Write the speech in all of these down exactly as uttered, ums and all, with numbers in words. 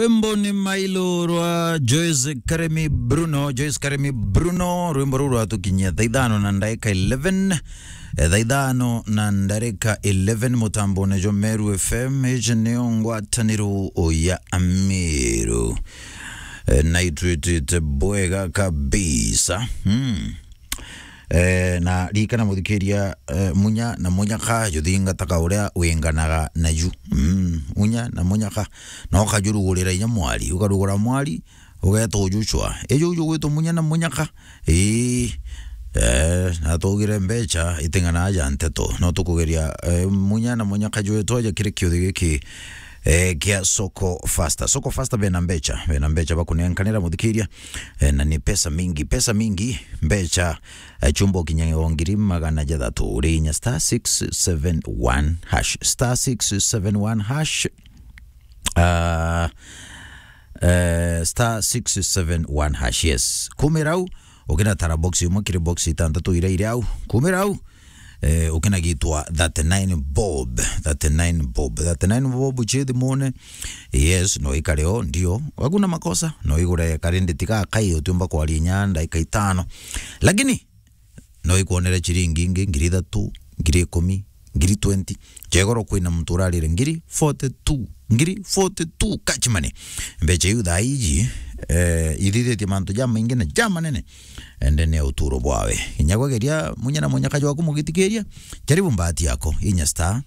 Rwimbo ni Mailo rwa Joyce Karemi Bruno. Joyce Karemi Bruno, rwimbo ruu rwatukinyia thaa ithano na ndarika eleven. Eh, thaa ithano na ndarika eleven, mutambone jwa Meru F M, iji niyo ngwataniro ya Amiru. Eh, na itwitite bwega kabisa. Hmm. Eh, na ririkana muthikiria, eh, munya na munyaka juthingataga uria winganaga naju. Mm, munya na munyaka. No ukajurugurira inya mwari, ukarugura mwari, ugeeta ujucwa. Iju uju gwitwa munya na munyaka. Ii, eh, na tugire mbecha iting'ana aja nteto. No tukugeria, eh, munya na munyaka jwetu aja kiri kiuthi giki, eh, kia Soko Faster. Soko Faster bena mbecha, bena mbecha bakunenkanira muthikiria. Eh, na ni pesa mingi, pesa mingi, mbecha, eh, chumbo kinya o ngiri magana jathatu, uri inya star six seven one hash, star six seven one hash. Ah, eh, star six seven one hash, yes. Kumira au, ukina tara box imwe kiri box itantatu iria iri au. Kumira au, eh, ukina gitwa thirty-nine bob, thirty-nine bob, thirty-nine bob chithi mone. Yes, no ikare o, ndio. Hakuna makosa, no igure karindi tiga kai utiumba kwaria inya ndaika itano. Lakini, no ikwonere chiringi ingi, ngiri ithatu, ngiri ikumi, ngiri twenty. Chegoro kwina muntu urarire ngiri forty-two, ngiri forty-two cash money. Mbecha iu thaa iji, eh, ithithitie mantu jamaingi na jamanene, ende ni uturo bwawe. Inya gwageria munya na munyaka jwaku mugitikiria, jaribu mbahati yako, inya star,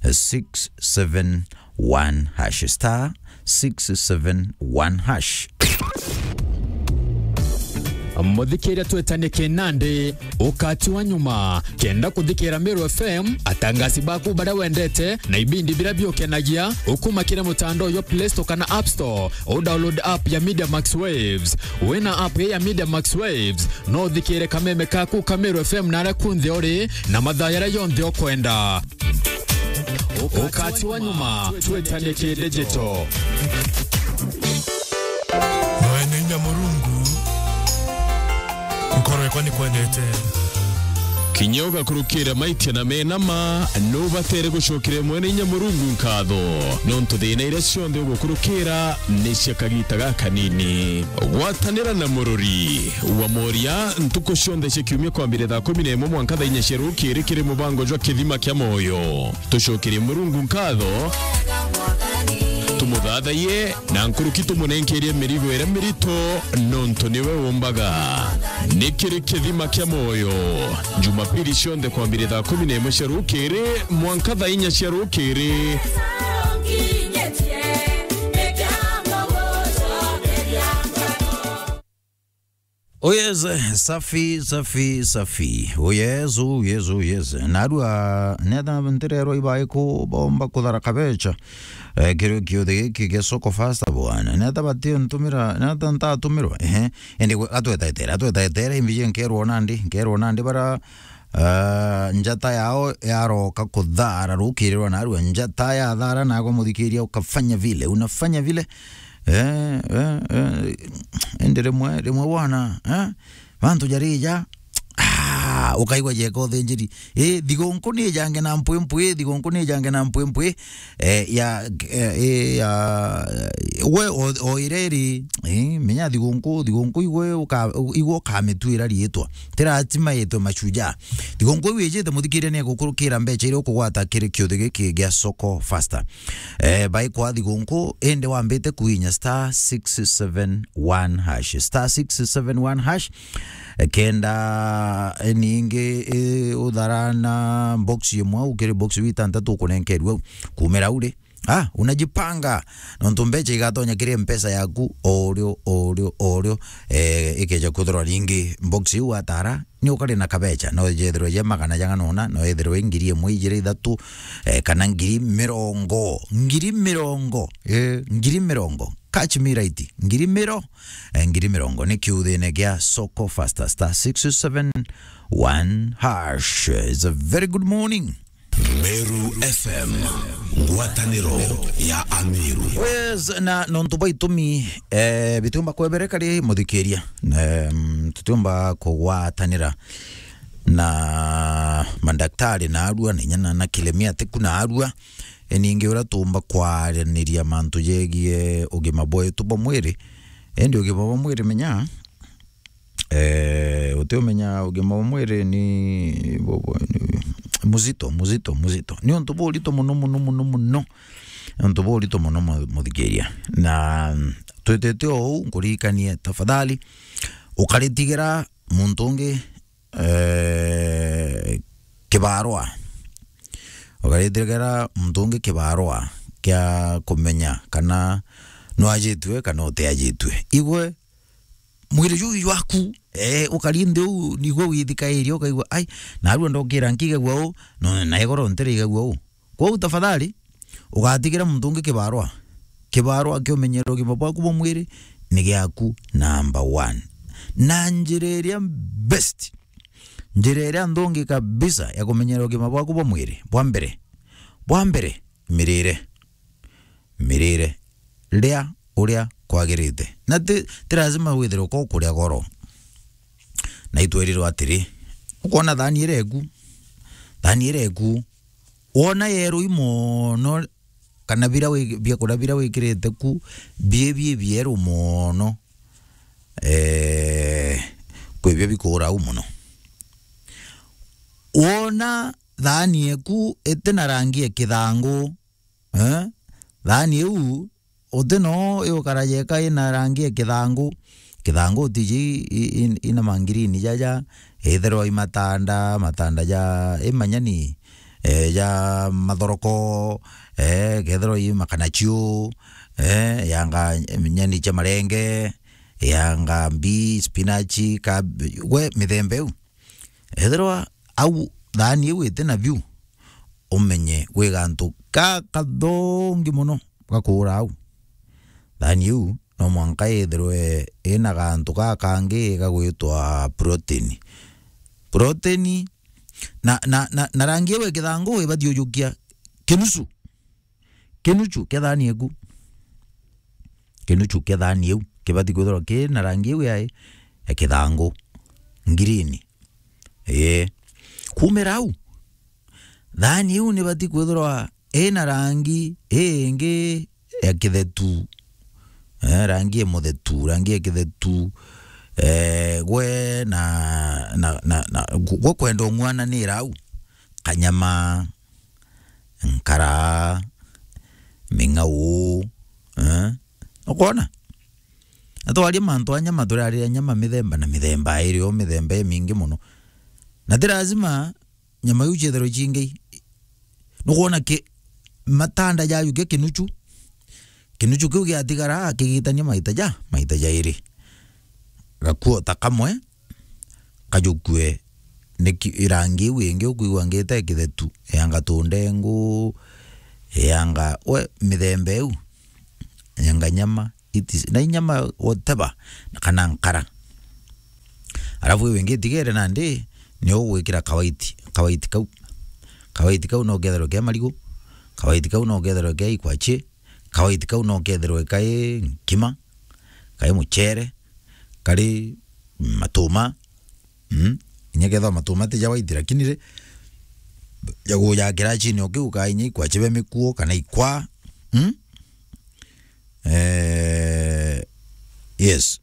eh, six seven one hash, star six seven one hash. Muthikiria twetanie kinandi, ukati wa nyuma. Kenda kuthikira Meru F M, atangasi baku baria wendete, na ibindi biria biukenagia, ukuma kiri mutandao jwa Play Store kana App Store, u download app ya Media Max Waves. Wina app ya Media Max Waves, no uthikire kameme kaku ka Meru F M na aria kunthe uri, na mathaa jaria jonthe ukwenda. Ukati wa nyuma, twetanie ki digital. Mwene inya Murungu, nkoro yakwa nikwendete. Kinya ugakurukira maitia na mena ma, nubatere gucokeria Mwene inya Murungu nkatho, nontu thina iria cionthe ugukurukira ni cia kagita gakanini. Gwatanira na murori wa moria ntuku cionthe cia kiumia kwambiria thaa kumi na imwe mwanka thaa inya cia rukiri kiri mubango jwa Kithima kia Moyo. Tucokerie Murungu nkatho, tumuthathaiye, na nkuruki tumunenkerie mirigo iria mirito, nontu niwe umbaga. Ni kiri Kithima kia Moyo, Jumapili cionthe kwambiria thaa kumi na imwe cia rukiri mwanka thaa inya cia rukiri. Oh yes, safi, safi, safi. Oh yes, oh yes, oh yes. Narua, neta ntirerwa ibai ku bomba kuthara kabecha. Eh, kiri kiuthi giki gia Soko Faster bwana. Neta bati ntumira, neta ntatumirwa. Ehe. Indi gwe, atwetaetere, atwetaetere, imbiji nkerwa nandi, nkerwa nandi bara, ah, njata yao yaroka kuthara rukiri rwa narua. Njata ya thara nagwa muthikiria ukafanya vile, unafanya vile. Eh, eh, eh, indi rimwe, rimwe bwana, eh, mantu jarija, ah, ukaigua jeka uthinjiri. Eh, thigunku ni jange na mpwimpwi, thigunku ni jange na mpwimpwi, eh, ya, eh, eh, ya, we o, o ireri, eh, menya thigunku, thigunku igwe uka-, igwe ukamituira riitwa. Tiratima itwe mashujaa. Thigunku iu ijite muthikiria ni egukurukira mbecha iria ukugwata kiri kiuthi giki gia Soko Faster. Eh, bai kwa thigunku, indi wambite kuinya star six seven one hash. Star six seven one hash. Eh, kenda, eh, ningi, eh, uthara na box imwe, ukiri box iu itantatu ukunenkerua kumira uri. Ah, unajipanga. Nontu mbecha igatonya kiri mpesa yaku, o urio, o urio, o urio. Eh, ikeja kuthirwa ringi box iu watara, ni ukari na kabecha, no yethirwe ye magana jang'ana una, no yethirwe ngiri imwe, ijiri, ithatu, eh, kana ngiri mirongo, ngiri mirongo, eh, ngiri mirongo, catch me right, ngiri miro-, eh, ngiri mirongo, ni kiuthine gia Soko Faster, star six seven one hash. It's a very good morning. Meru F M, ngwataniro ya Amiru. Yes, na nontu bwa itumi, eh, bitiumba kwebereka ri muthikiria. Em, tutiumba kugwatanira na mandaktari na arua, na inya na, na kilemia tiku na arua. e, ningi uria tuumba kwaraniria mantu jegie ugima bwetu bwa mwiri. Indi ugima bwa mwiri, menya, eh, utiumenya ugima bwa mwiri ni bu-, bu-, ni muzito, muzito, muzito. Ni untu burito muno, muno, muno, muno. Ni untu burito muno, mu-, muthikiria. Na, mm, twitite uu, nkuririkanie, tafadhali, ukaritigira muntu ungi, eh, kibarua. Ukaritigera muntu ungi kibarua kia kumenya kana nwajitue kana utiajitue. Igwe mwiri juu jwaku, eh, ukari nthi uu, nigwe withikairia, ukaigua, "Ai, narua ndokira nkigagua uu, no, na igoro ntiraigagua uu." Kwou tafadhali, ugatigira muntu ungi kibarua. Kibarua kia umenyera ugima bwaku bwa mwiri ni giaku number one. Na njira iria best, njira iria nthongi kabisa ya kumenyera ugima bwaku bwa mwiri, bwa mbere, bwa mbere, mirire. Mirire. Ria uria kwagirite. Na ti, ti lazima withirwe ko kuria goro. Na itwerirwe atiri, ukwona thani iria iku, thani iria iku, wona yerui mono, kana bira wi-, biakuria bira wikirite ku, bi, bi bieru mono, eh, kwi bio bikuura au mono. Wona thani eku iti na rangi ya kithangu, eh? Thani iu uti no iukara yeka ina rangi ya kithangu. Kithangu tiji i-, i-, ina mangirini jaja, ithirwa i matanda, matanda ja, i manyani, eh, ja mathoroko, eh, kethirwa i makanachiu, eh, yanga nyani cia marenge, yanga mbi, spinach, kab-, gwe mithemba iu. Ethirwa au thani iu iti na biu, umenye gwi gantu gakathongi mono gakuura au. Thani iu no mwanka ithirwe ina gantu gakangi gagwitwa protein. Protein na, na, na, na rangi iu ya kithangu ibati ujukia kinusu. Kinuchu kia thani eku. Kinuchu kia thani iu kibati kwithirwa ki na rangi iu ya, ya kithangu, ngirini. Ii. Kumira au, thani iu nibati kwithirwa ina rangi ingi ya kithetu. Eh, rangi ya muthetu, rangi ya kithetu. Eh, gwe na, na, na, na, gwe kwenda ung'wananira au. Kanyama, nkara, ming'au, eh? Ukona? Na twaria mantu a nyama, turiariria nyama mithemba na mithemba, iri o mithemba imingi mono. Na ti lazima nyama iu ciethirwe cingi. Nukwona ki-, matanda jajukia kinuchu, kinuchu kiu giatigara kigitania maita ja, maita jairi. Gakuo ta kamwe, kajukue ni ki-, irangi iu ingi ukwigua ngita ikithetu, yanga tundengu, yanga, we, mithemba iu, yanga nyama, itis-, na inyama whatever, na kana nkara. Alafu iu ingi itigere nandi, ni ugwikira kawaiti, kawaiti kau. Kawaiti kau no ketherwe ke marigu, kawaiti kau no ketherwe ke ikwachi, kawaiti kau no ketherwe kai nkima, kai muchere, kari matuma. Mm? Inya kethwa matuma ti ja waiti, lakini ri, jagujakira chini o kiu ka inya ikwa chibe mikuo kana ikwa. Mm? Eh, yes.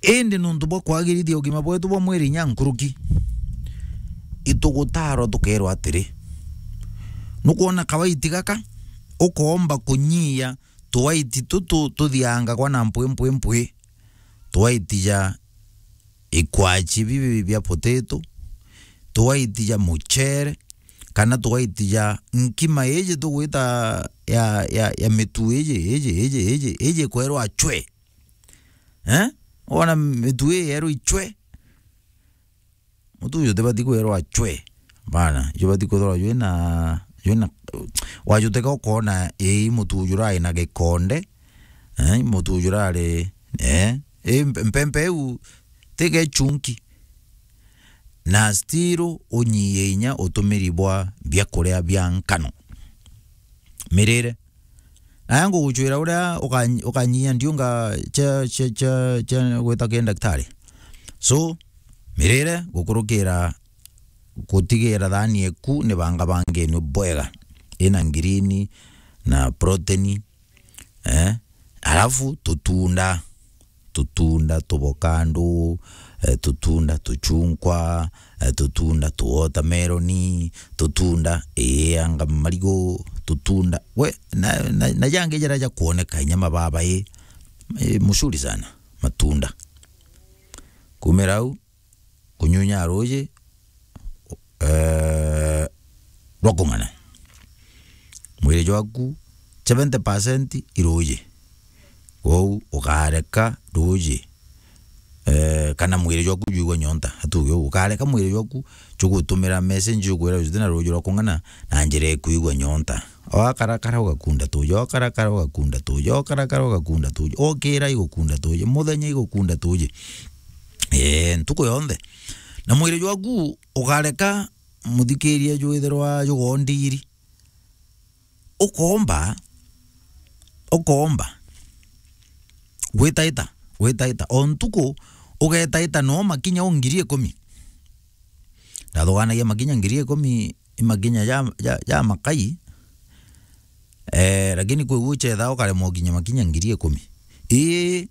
Indi nuntu bwa kwagirithia ugima bwetu bwa mwiri inya nkuruki, itugutarwa tukerwa atiri, nukwona kawaiti gaka, ukoomba kunyia tuwaiti tutu tuthiangagwa na mpwi, mpwi, mpwi, tuwaiti ja ikwachi bibi bia potato, tuwaiti ja muchere, kana tuwaiti ja nkima iji tugwita ya, ya, ya mitu iji, iji, iji, iji, iji kwerwa chwe. Eh? Wona mitu ii yerwa ichwe? Mutu uju utibati kwirwa chwe. Bana, jubati kwithirwa jwina, jwina, wajuteka ukona, ii, mutu uju urari na gikonde, eh, mutu uju urari, eh, ii, mpe-, mpempe iu ti gechunki. Na still unyie inya utumiri bwa biakuria bia nkano. Mirire. Naya nguguchwira uria uka-, ukanyia ndiunga cia, cia, cia, cia gwita ki ndaktari. So, mirire gukurukira gutigira thani eku ni banga bangeni bwega. ina ngirini na protein, eh? Alafu tutunda, tutunda tubokandu, eh, tutunda tuchunkwa, eh, tutunda tuwotameroni, tutunda, ii, anga marigu, tutunda, we, na, na, na jangi jara ja kwoneka inya mababa, ii, ii, mucuri sana, matunda. Kumira au, kunyunya ruuji, eh, rwa kung'ana. Mwiri jwaku seventy percent i ruuji. Kwou ukareka ruuji, eh, kana mwiri jwaku jwigua nyonta. Atuge uu, ukareka mwiri jwaku jugutumira message jukwira juti na ruuji rwa kung'ana na njira ikwigua nyonta. Okarakara ugakunda tuuji, okarakara ugakunda tuuji, okarakara ugakunda tuuji, okira igukunda tuuji, muthenya igukunda tuuji. Ee, ntuku yonthe. Na mwiri jwaku ukareka muthikiria jwithirwa jugondiri. Ukoomba, ukoomba. Gwitaita, gwitaita. O ntuku ugetaita no makinya o ngiri ikumi. Ndathuganagia makinya ngiri ikumi, i makinya ja, ja, ja makai. Eh, lakini kwi guchetha ukaremwa ukinya makinya ngiri ikumi. Ii,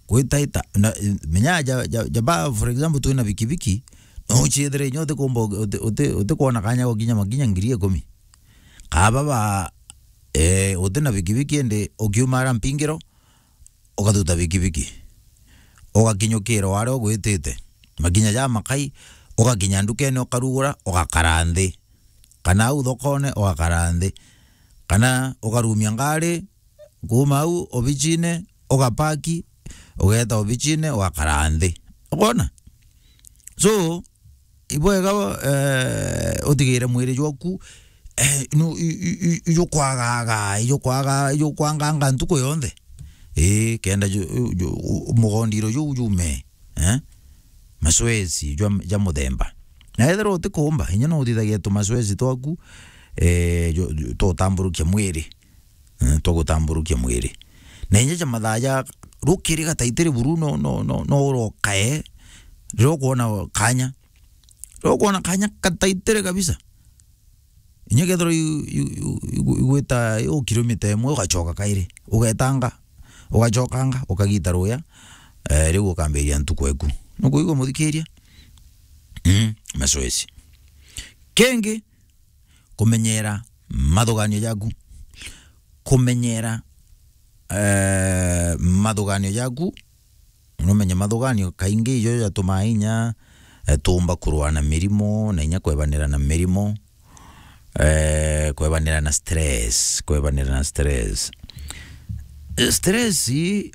gwitaita. Na, menya ja, ja, ja ba, for example, twina bikibiki, no uchiethire inya utikumba, uti-, uti-, utikwona kanya gukinya makinya ngiri ikumi. Kaba ba, eh, utina bikibiki indi ukiumara mpingiro, ugathuta bikibiki. Ugakinyukira o aria ugwitite. Makinya ja makai, ugakinya ndukene ukarugura, ugakara nthi. Kana au thokone, ugakara nthi. Kana ukarumia ngari, kuuma au obichine, ugapaki, ugeeta obichine, ugakara nthi. Ukwona? So, ibwega, eh, utigire mwiri jwaku, eh, nu-, i-, i-, i-, ijukwagaga, ijukwaga, ijukwanganga ntuku yonthe. Ii, kenda ju-, ju-, u-, mugondiro juu jume, eh? Mazoezi jwa, ja muthemba. Na ethirwa utikumba, inya no uthithagia tumazoezi twaku, eh, ju-, ju-, twa utamburukia mwiri. Eh, twa gutamburukia mwiri. Na inya ja mathaa ja rukiri gataitiri buru no, no, no, no urokae, riria ukwona kanya. Riria ukwona kanya gataitiri kabisa. Inya kethirwa i-, i-, i-, i-, igwita u kilomita imwe, ugachoka kairi. Ugetanga, ugachokanga, ukagita ruya, eh, riu ukambiria ntuku eku. Nukuigua muthikiria? Mm, mazoezi. Kingi, kumenyera mathuganio jaku. Kumenyera, eh, mathuganio jaku. Numenye mathuganio kaingi ijo jatumaa inya, eh, tuumba kurua na mirimo, na inya kwebanira na mirimo. Eh, kwebanira na stress, kwebanira na stress. Eh, stress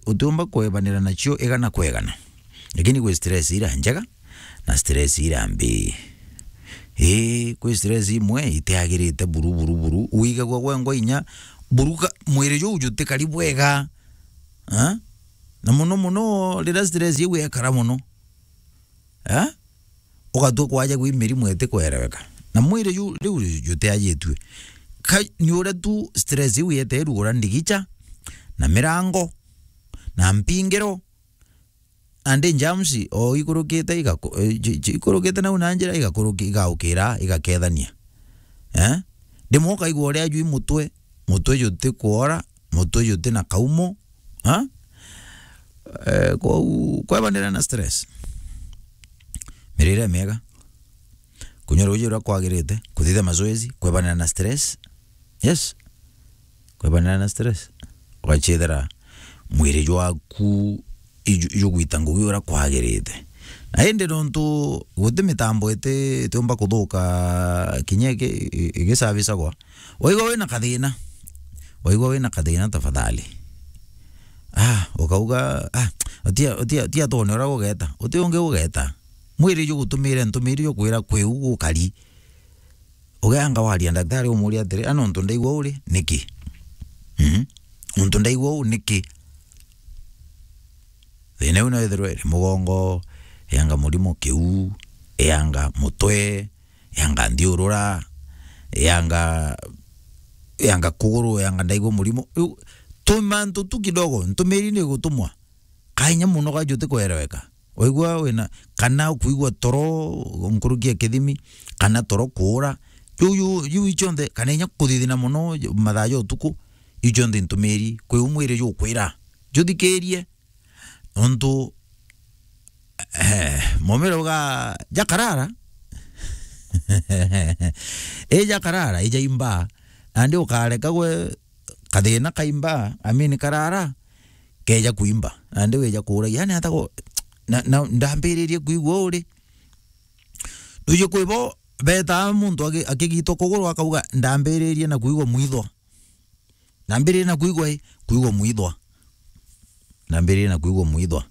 utiumba kwebanira nacio igana kwa igana. Lakini kwi stress ira njega, na stress ira mbi. Ii, kwi stress imwe itiagirite buru, buru, buru. Wigagua gwengwa inya buru ka-, mwiri juu jutikari bwega. Ha? Na muno muno riria stress iu yekara muno. Ha? Ugatua kwaja gwi mirimu itikwereweka. Na mwiri ju-, riu jutiajitue. Ka-, ni uria tu stress iu yete irugura ndigicha, na mirango, na mpingiro, and germs, o ikurukite igaku-, eh, ji-, ji-, ikurukite nau na njira igakuruki-, igaukira, igakethania. Eh? Rimwe ukaigua uria jwi mutwe, mutwe juti kwora, mutwe juti na kaumo. Ha? Eh, kwou, kwebanira na stress. Mirire miega. Kunywa ruuji uria kwagirite, kuthithia mazoezi, kwebanira na stress. Yes. Kwebanira na stress. Ugachithira mwiri jwaku iju-, ijugwita ngugi uria kwagirite. Na indi nontu guti mitambo iti-, itiumba kuthuka kinya iki-, i-, igisavicagwa, waigua wina kathina, waigua wina kathina, tafadhali. Ah, ukauga, ah, utia, utia, utia twone uria gugeta, uti ungi ugeta. Mwiri jugutumire ntumiri jukwira kwi u gukari. Ugeanga waria ndaktari umuria atiri, "A, nontu ndaigua uri, niki? Mhm. Nontu ndaigua uu, niki?" Thina iu no ithirwe iri mugongo, eanga murimo kiu, eanga mutwe, eanga nthiurura, eanga, eanga kuguru, eanga ndaigua murimo. Riu tumantu tu kidogo, ntumiri ni igutumwa. Kainya muno gajuti kwereweka. Waigua wina, kana ukwigua toro nkuruki ya kithimi, kana toro kuura, Ju, ju, ju icionthe, kana inya kuthithina mono mathaa ja utuku, icionthe ntumiri, kwi u mwiri jukwira, juthikirie, nontu, eh, momere uga, jakarara, i jakarara, ijaimba, nandi ukareka gwe kathina kaimba, amini karara, keja kuimba, nandi wija kuuragia, yani, ata go-, na, na, ndambiririe kwigua uri. Nduji kwi bo betaa muntu aki-, akigitwa kuguru akauga, "Ndambiririe na kwigua mwithwa." Ndambiririe na kwigua i, kwigua mwithwa. Ndambiririe na kwigua mwithwa.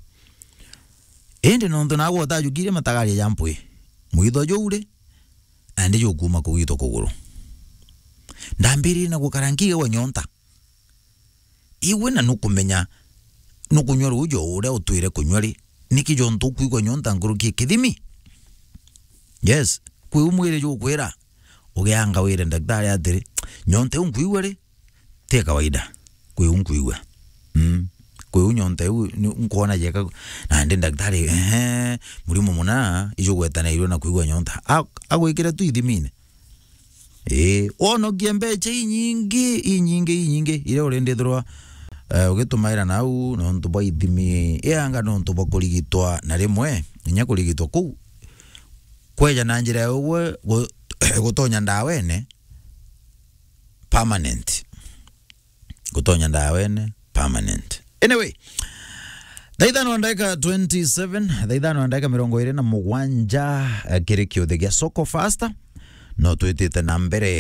Indi nontu nagwe utajukirie matagaria ja mpwi, mwithwa juu ri, nandi jukuma kugitwa kuguru. Ndambiririe na gukara nkigagwa nyonta. Igwe na nukumenya nukunywa ruuji o uria utwire kunywa ri, niki jontu ukwigua nyonta nkuruki kithimi? Yes, kwi u mwiri jukwira, ugianga wire ndaktari atiri, "Nyonta iu nkwigua ri, ti ya kawaida." Kwi u nkwigua. Mm. Kwi u nyonta iu ni-, nkwona jeka, nandi ndaktari, ehe, murimo muna ijugwetanairwe na kwigua nyonta. A-, agwikire tu ithimine. Ii, wonokie mbecha inyingi, inyingi, inyingi, iria urindithirwa, eh, ugitumaira nau nontu bwa ithimi, ianga nontu bwa kurigitwa na rimwe, inya kurigitwa kuu, kweja na njira ya ugwe gu-, gutonya ndawene permanent. Gutonya ndawene permanent. Anyway, thaa ithano na ndagika twenty-seven, thaa ithano na ndagika mirongo iri na mugwanja, eh, kiri kiuthi gia Soko Fasta. No twitite na mbere